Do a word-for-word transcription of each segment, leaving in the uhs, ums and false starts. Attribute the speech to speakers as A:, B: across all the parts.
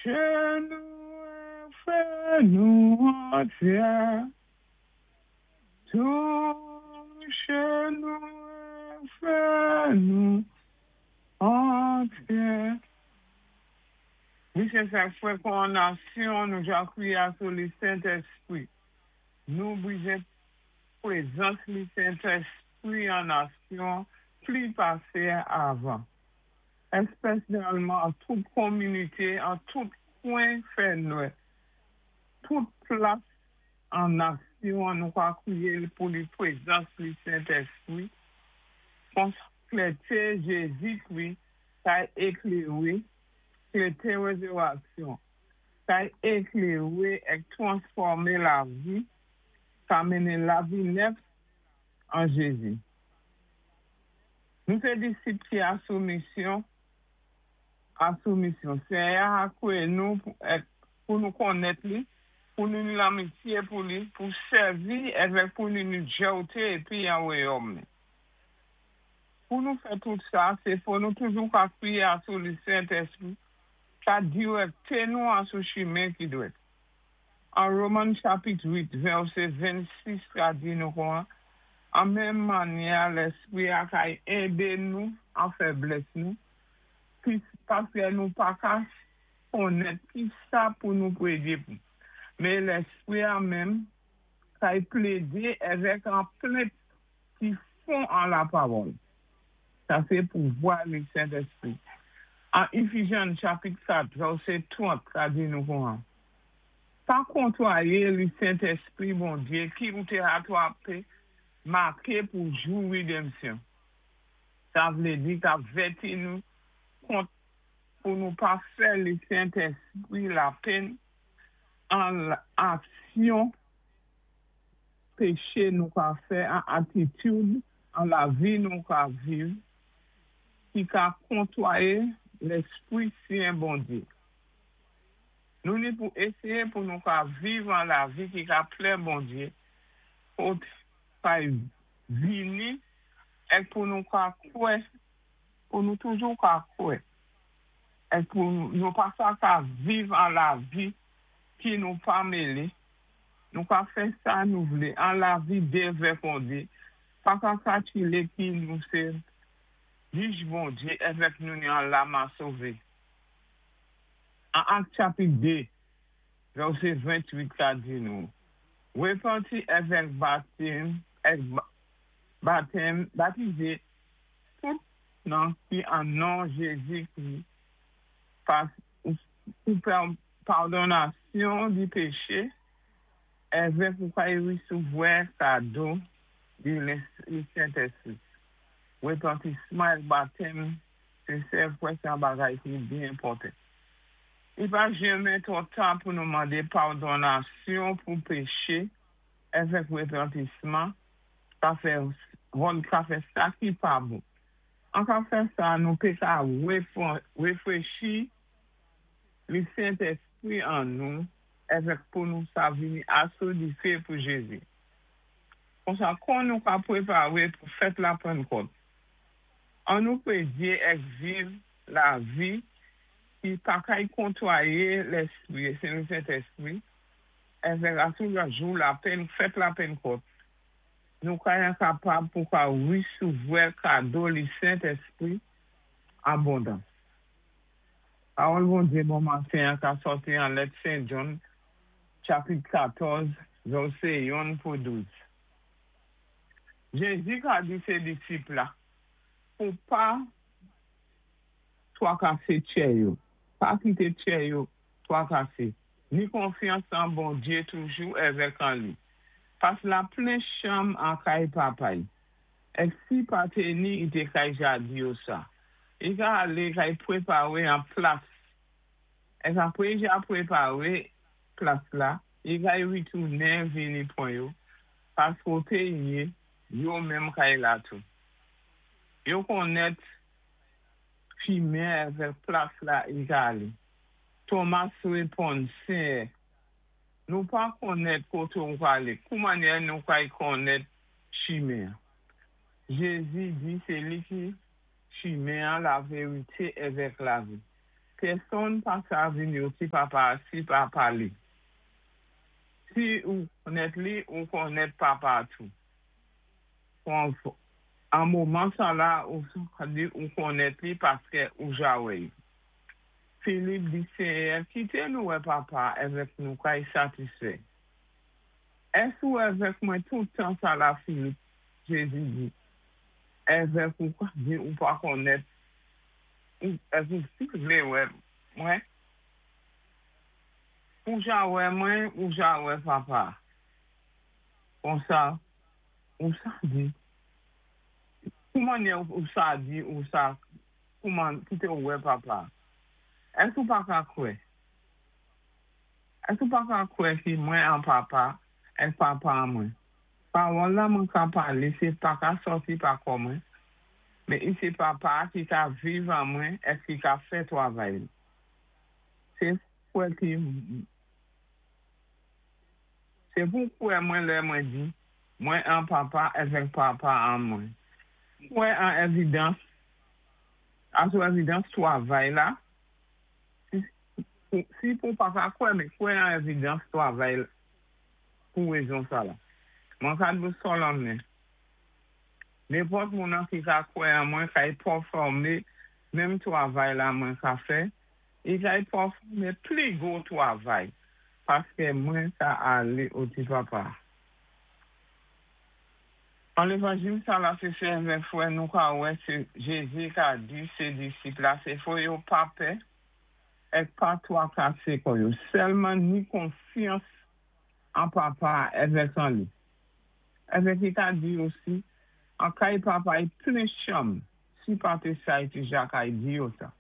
A: Touche nou, fè nou antyé. Touche nou, fè nou antyé. Wi, sé sa fwè kon nasyon nou ja kwiyé asou li Sentèspwi. Nou bizwen pwézans li Sentèspwi an nasyon pli pasé avan. Èspésyalman an tout kominité, an tout kwen fè nwè. Tout plas an nasyon nou ka kwiyé pou li pwézans li Sentèspwi. Kon klèté Jézi-Kwi kay ékléwé, klèté wézéwaksyon, kay ékléwé èk twansfòmé lavi, ka mennen lavi nèf an Jézi. Nou sé disip ki asou misyon, asou misyon. Séyè a kwé nou pou nou konnèt li, pou nou ni lanmityé pou li, pou sèvi èvèk pou nou ni djòté épi an wayòm ni. Pou nou fè tout sa, sé fò nou toujou ka kwiyé asou li Sentèspwi, ka diwèkté nou asou chimen ki dwèt. An Women chapit uit, vèsé vennsis ka di nou kon, an menm mannyè Lèspwi a kay édé nou an fèblès nou, paské nou pa ka konnèt ki sa pou nou pwédyé pou. Men Lèspwi a menm kay plédé èvèk an plent ki fon an lapawòl. Sa sé pouvwa li Sentèspwi. An Éfézyen chapit kat, vèsé trant, ka di nou kon. Pa kontwayé li Sentèspwi Bondyé ki ou té atwapé maké pou jou wédanmsyon. Sa vlé di ka vèti nou kont pou nou pa fè li Sentèspwi lapenn an aksyon péché nou ka fè, an atitid, an lavi nou ka viv, ki ka kontwayé Lèspwi Sen Bondyé. Nou ni pou éséyé pou nou ka viv an lavi ki ka plè Bondyé, pou kay vini, èk pou nou ka kwè, pou nou toujou ka kwè, èk pou nou pa sa ka viv an lavi ki nou pa mélé, nou ka fè sa nou vlé, an lavi dévèkondé, pa ka kakilé ki nou sé jij Bondyé èvèk nou ni an lama sové. An Ak chapit dé, vèsé ventwit ka di nou, Wépanti èvèk batèm, èk batèm, batizé, tout nan ki an non Jézi-Kwi, pou padonasyon di péché, èvèk ou kay wésouvoua kado di li Sentèspwi. Wépantisman èk batèm, sé sé fwè sa bagay ki byen enpòtan. I pa janmen twò ta pou nou mandé padonasyon pou péché èvèk wépantisman ka fè ka fè sa ki pa bon. An ka fè sa, nou pé ka wéfwéchi li Sentèspwi an nou èvèk pou nou sa vini asou difé pou Jézi. Konsa kon nou ka pwépawé pou fèt la Pannkòt. An nou pwédyé èk viv lavi ki pa kay kontwayé Lèspwi, sé le Sentèspwi, èvèk asou la jou la pen, fèt la Pannkòt, nou kay enkapab pou ka wésouvoua kado li Sentèspwi abondans. Pawòl Bondyé bon maten ka sòti an lèt Sen Jan, chapit katòz, vèsé youn pou douz. Jézi ka di sé disip la, pou pa twakasé tjè yo, pa kité tjè yo twakasé, ni konfyans an Bondyé toujou èvèk an li. Pas la plen chanm an kay papa'y. Èk si pa té ni, i té kay ja di yo sa. I ka alé kay pwépawé an plas. Èk apwé ja pwépawé plas la, i kay witounen vini pwan yo. Pas koté i yé, yo menm kay la tou. Yo konnèt chimen èvèk plas la i ka alé. Thomas wéponn, Séyè, nou pa konnèt koté ou alé, kou mannyè nou kay konnèt chimen. Jézi di sé li ki chimen, lavérité èvèk lavi. Pèsonn pa sa vini o ti Papa si pa pa li. Si ou konnèt li, ou konnèt Papa tou. An moman sa la, ou di ou konnèt li paské ou ja wè. Filip di Séyè, kité nou wè Papa èvèk nou kay satisfè. Ès ou èvèk mwen tout tan sa la, Filip, Jézi di. Èvèk ou di ou pa konnèt, ou èvèk ou si vlé wè mwen? Ou ja wè mwen, ou ja wè Papa. Konsa, ou sa di. Kouman ou sa di, ou sa, kouman, kité ou wè Papa? Ès ou pa ka kwè? Ès ou pa ka kwè ki mwen an Papa, èk Papa an mwen? Pawòl la mwen ka palé, sé pa ka sòti pa kò mwen, men i sé Papa ki ka viv an mwen, èk ki ka fè twavay. Sé kwè ki sé pou kwè mwen lè mwen di, mwen an Papa èvèk Papa an mwen. Kwè an évidans, asou évidans twavay la, si pou pa ka kwè, men kwè an évidans twavay pou wézon sa la. Mwen ka dou solanmen. Nenpòt moun an ki ka kwè an mwen kay pèfòmé menm twavay la mwen ka fè, i kay pèfòmé pli gwo twavay, paské mwen ka alé o ti Papa. An lévanjil sa la sé sè èvèk frè nou ka wè sé Jézi ka di sé disip la sé fò yo pa pè èk pa twakasé kò yo. Sèlman ni konfyans an Papa èvèk an li. Èvèk i ka di osi, an kay Papa i plen chanm, si pa té sa i té ja kay di yo sa.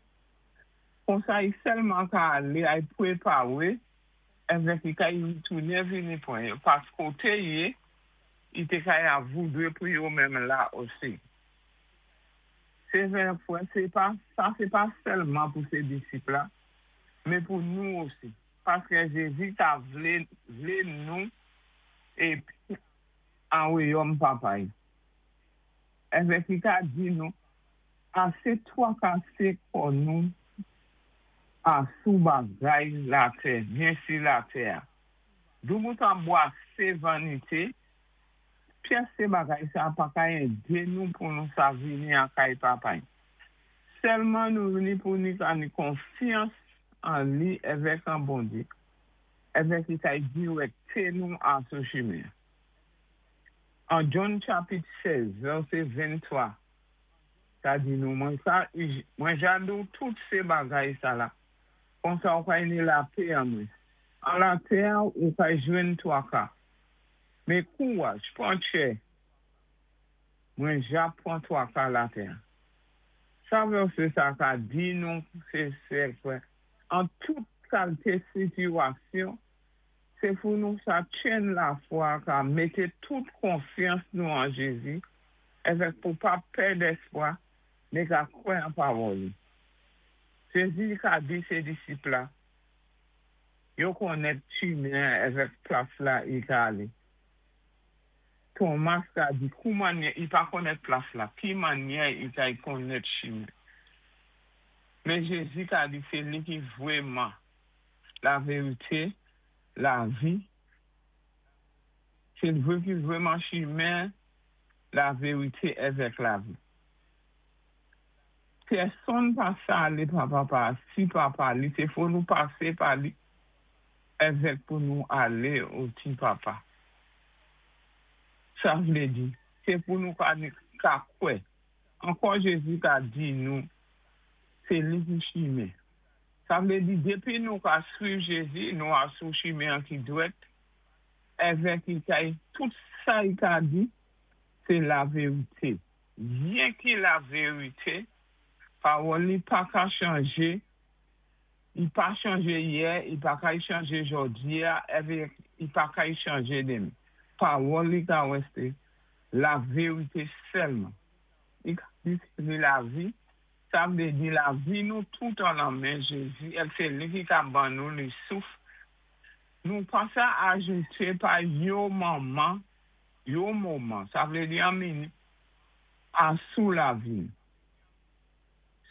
A: Konsa i sèlman ka alé ay pwépawé, èvèk i kay tounen vini pwan yo. Pas koté yé, i té kay avoudwé pou yo menm la osi. Sé vè frè, sé pa, sa sé pa sèlman pou sé disip la, men pou nou osi. Paské Jézi ta vlé, vlé nou épi an wayòm Papa. Èvèk i ka di nou, asé twakasé kò nou asou bagay latè, byensi latè. Dou ta bwasé vanité, pyès sé bagay sa pa ka édé nou pou nou sa vini an kay Papa. Sèlman nou ni pou ni ka ni konfyans an li èvèk an Bondyé. Èvèk i kay diwèkté nou asou chimen. An John chapit sèz, vèsé venntwa, sa di nou, mwen sa, mwen ja di ou tout sé bagay sa la, konsa ou kay ni lapè an mwen. An latè ou kay jwenn twaka. Men kouwaj, pwan tchè, mwen ja pwan twaka latè. Sa vèsé sa ka di nou, sé sè frè, an tout kalité sitiyasyon, sé pou nou sa tjenn lafwa ka mété tout konfyans nou an Jézi, èvèk pou pa pèd èspwa, men ka kwè an pawòl. Jézi ka di sé disip la, yo konnèt chimen èvèk plas la i ka alé. Thomas ka di, kouman i pa konnèt plas la, ki mannyè i kay konnèt chimen. Men Jézi ka di, sé li ki vwèman la vérité, lavi, sé vwé ki vwèman chimen, la vérité èvèk lavi. Pèsonn pa sa alé pa Papa, si pa pa li, sé fò nou pasé pa li, èvèk pou nou alé o ti Papa. Sa vlé di, sé pou nou ka, ka kwè. Ankò Jézi ka di nou, sé li ki chimen. Sa vlé di, dépi nou ka swiv Jézi, nou asou chimen an ki dwèt, èvèk i kay, tout sa i ka di, sé la vérité. Byen ki la vérité, pawòl li pa ka chanjé, i pa chanjé yè, i pa ka chanjé jòdi a, èvèk i pa ka chanjé denmen. Pawòl li ka wèsté la vérité sèlman. I ka di sé lavi, sa vlé di lavi nou tout an nan men Jézi, èk sé li ki ka ban nou li souf. Nou pa sa ajouté pa yo moman, yo moman, sa vlé di an minit, asou lavi.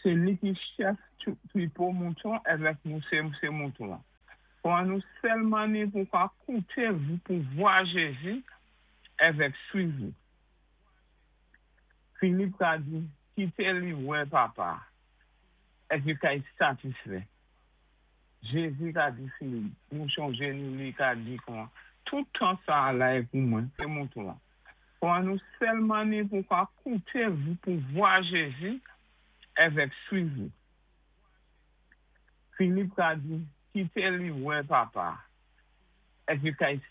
A: Sé li ki chèf twoupo mouton èvèk nou sé sé mouton. Pou nou sèlman ni pou ka kouté pou vwa Jézi èvèk swiv li. Filip ka di, kité li wè Papa, épi kay satisfè. Jézi ka di Filip, nou chonjé nou li ka di kon, tout tan sa la é pou mwen, sé mouton. Pou nou sèlman ni pou ka kouté pou vwa Jézi èvèk swiv li. Filip ka di, kité li wè Papa, épi kay